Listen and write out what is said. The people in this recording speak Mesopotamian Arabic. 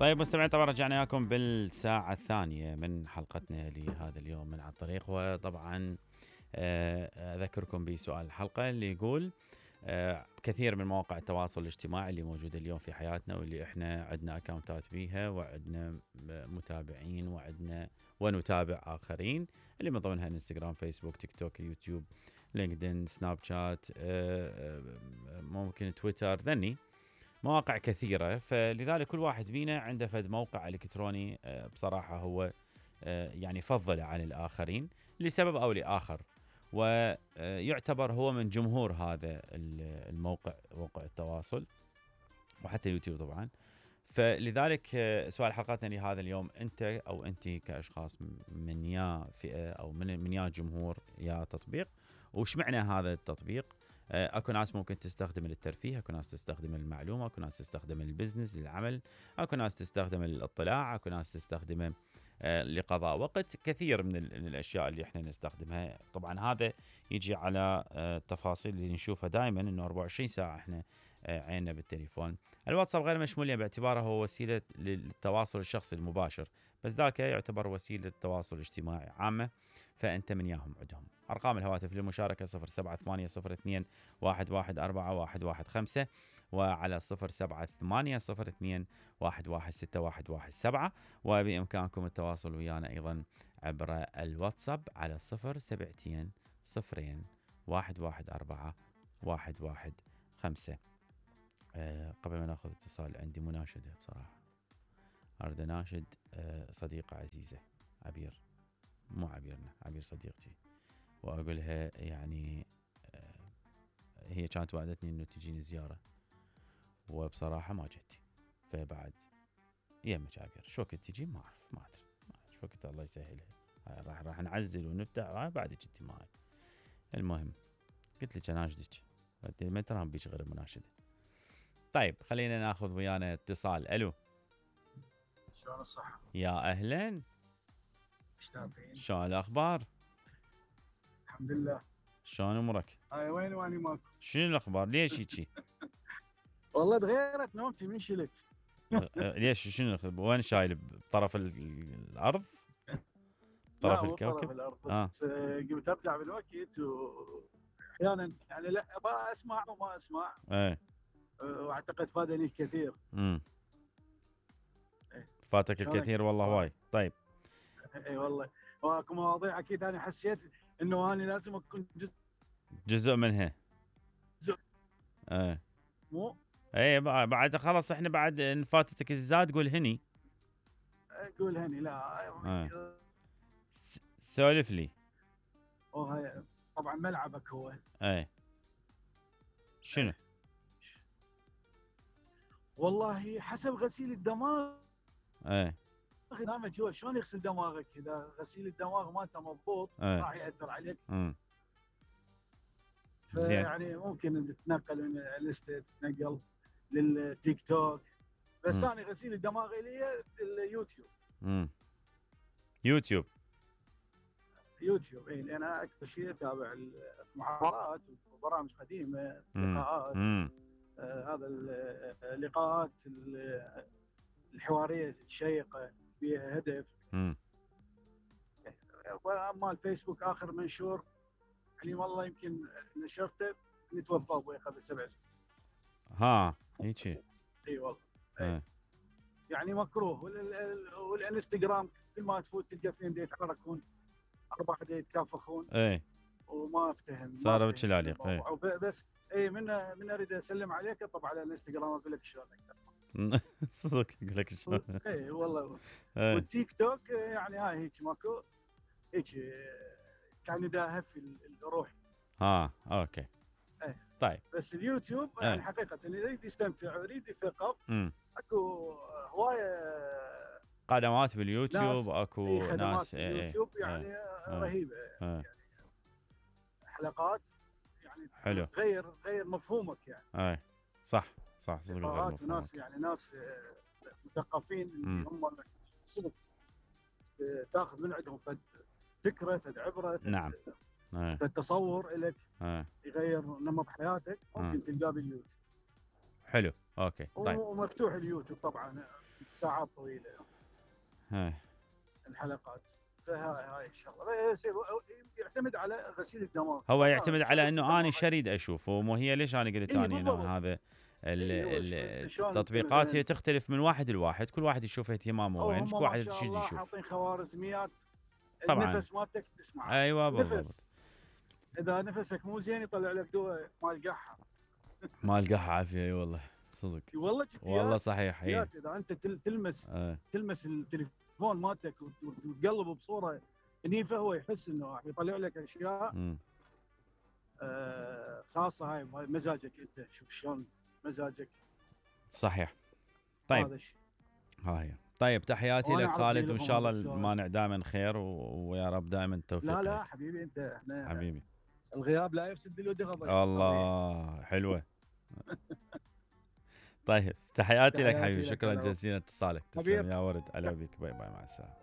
طيب مستمعين، طبعا رجعنا لكم بالساعة الثانية من حلقتنا لهذا اليوم من على الطريق. وطبعا أذكركم بسؤال الحلقة اللي يقول كثير من مواقع التواصل الاجتماعي اللي موجودة اليوم في حياتنا واللي احنا عندنا اكاونتات بيها وعندنا متابعين ونتابع آخرين، اللي من ضمنها انستغرام، فيسبوك، تيك توك، يوتيوب، لينكدين، سناب شات، ممكن تويتر، ذني مواقع كثيرة. فلذلك كل واحد فينا عنده فد موقع إلكتروني بصراحة هو يعني فضل عن الآخرين لسبب أو لآخر، ويعتبر هو من جمهور هذا الموقع، موقع التواصل وحتى يوتيوب طبعا. فلذلك سؤال حلقتنا لهذا اليوم، أنت أو أنت كأشخاص من يا فئة أو من يا جمهور يا تطبيق، وش معنى هذا التطبيق؟ اكو ناس ممكن تستخدم للترفيه، اكو ناس تستخدم المعلومه، اكو ناس تستخدم البزنس للعمل، اكو ناس تستخدم الاطلاع، اكو ناس تستخدمه لقضاء وقت. كثير من الاشياء اللي احنا نستخدمها. طبعا هذا يجي على التفاصيل اللي نشوفها دائما انه 24 ساعه احنا عيننا بالتليفون. الواتساب غير مشمول باعتباره هو وسيله للتواصل الشخصي المباشر، بس ذاك يعتبر وسيله تواصل اجتماعي عامه، فانت من ياهم عندهم. ارقام الهواتف للمشاركه 0780211415 وعلى 0780211617، وبامكانكم التواصل ويانا ايضا عبر الواتساب على 07200114115. قبل ما ناخذ اتصال عندي مناشده بصراحه، اريد اناشد صديقه عزيزه عبير، مو عبيرنا، عبير صديقتي، واقولها يعني هي كانت وعدتني انه تجيني زياره وبصراحه ما جتي، فبعد يمك عبير شو وقت تجي ما ادري شو وقت، الله يسهلها. راح نعزل ونفتح بعد جتي معي. المهم قلت لك اناشدك، ما ترى بيك غير مناشده. طيب خلينا ناخذ ويانا اتصال. الو، شلون الصحة؟ يا اهلا، مشتاقين. شلون الاخبار؟ الحمد لله. شلون امورك؟ هاي وين واني ماكو؟ شنو الاخبار؟ ليش هيجي؟ والله تغيرت نومتي من شلت. ليش شنو وين شايل؟ بطرف الارض؟ لا طرف مو الكوكب؟ طرف الارض، بس قمت ارجع بالوقت واحيانا يعني لا اسمع وما اسمع. واعتقد فادني الكثير. فاتك الكثير والله وايد. طيب اي والله، واكو مواضيع اكيد انا حسيت انه انا لازم اكون جزء منها. مو بعد خلاص احنا بعد ان فاتتك الزاد قول هني. قول هني لا سولف لي. وهي طبعا ملعبك هو. شنو؟ والله حسب غسيل الدماغ. برنامج هو شلون يغسل دماغك، اذا غسيل الدماغ مالته مضبوط راح ياثر عليك. يعني ممكن تتنقل من الانستا، تتنقل للتيك توك، بس انا غسيل الدماغ لي اليوتيوب. يوتيوب اي، لان انا اكثر شيء اتابع المحاضرات وبرامج قديمه، لقاءات، هذا اللقاءات الحواريه الشيقه فيها هدف. واما الفيسبوك اخر منشور يعني والله يمكن نشرته نتوفى ابوي قبل 7 سنين. هيك. اي والله. يعني مكروه. والانستغرام كل ما تفوت تلقى اثنين يتحركون، 4 يتكافخون. وما افتهم صار بتشلاليق. بس من اريد اسلم عليك اطب على الانستغرام اقول لك شلونك. صدق اقول لك شلون. اي والله. والتيك توك يعني هاي هيك ماكو هيك كان يداهف الروح. اوكي. طيب بس اليوتيوب يعني حقيقه اللي يريد يستمتع ويريد يثقف اكو هوايه قنوات باليوتيوب، اكو ناس باليوتيوب يعني رهيبه. يعني حلقات يعني حلو تغير مفهومك يعني. صح صدق غير وناس يعني ناس مثقفين اللي هم صدق تاخذ من عندهم فكره، عبره، نعم، التصور لك يغير نمط حياتك، ممكن تلقاه باليوتيوب. حلو. اوكي طيب. ومفتوح اليوتيوب طبعا ساعات طويله هاي الحلقات. فهاي الشغله يعتمد على غسيل الدماغ. هو يعتمد على انه انا شريد اشوفه، ومو هي ليش انا قلت إيه اني انه هذا إيه التطبيقات هي تختلف من واحد لواحد، كل واحد يشوف اهتمامه وين، كل واحد شو يشوف. حاطين خوارزميات طبعا النفس مالتك تسمع. ايوه بالضبط. نفس اذا نفسك مو زين يطلع لك دواء مال قحه. مال قحه عافيه. اي والله صدق. والله صحيح. اذا انت تلمس التليفون مالتك وتقلب بصوره نيفه، هو يحس انه راح يطلع لك اشياء خاصه. هاي مزاجك انت، شوف شلون مزاجك. صحيح. طيب هذا الشيء. هاي طيب تحياتي لك خالد، وان شاء الله المانع دائما خير ويا رب دائما التوفيق. لا حبيبي انت، احنا حبيبي الغياب لا يفسد بالود غضب. الله حلوه. طيب تحياتي لك حبيبي، شكرا جزيلا اتصالك. تسلم يا ورد. على بيك. باي باي، مع السلامه.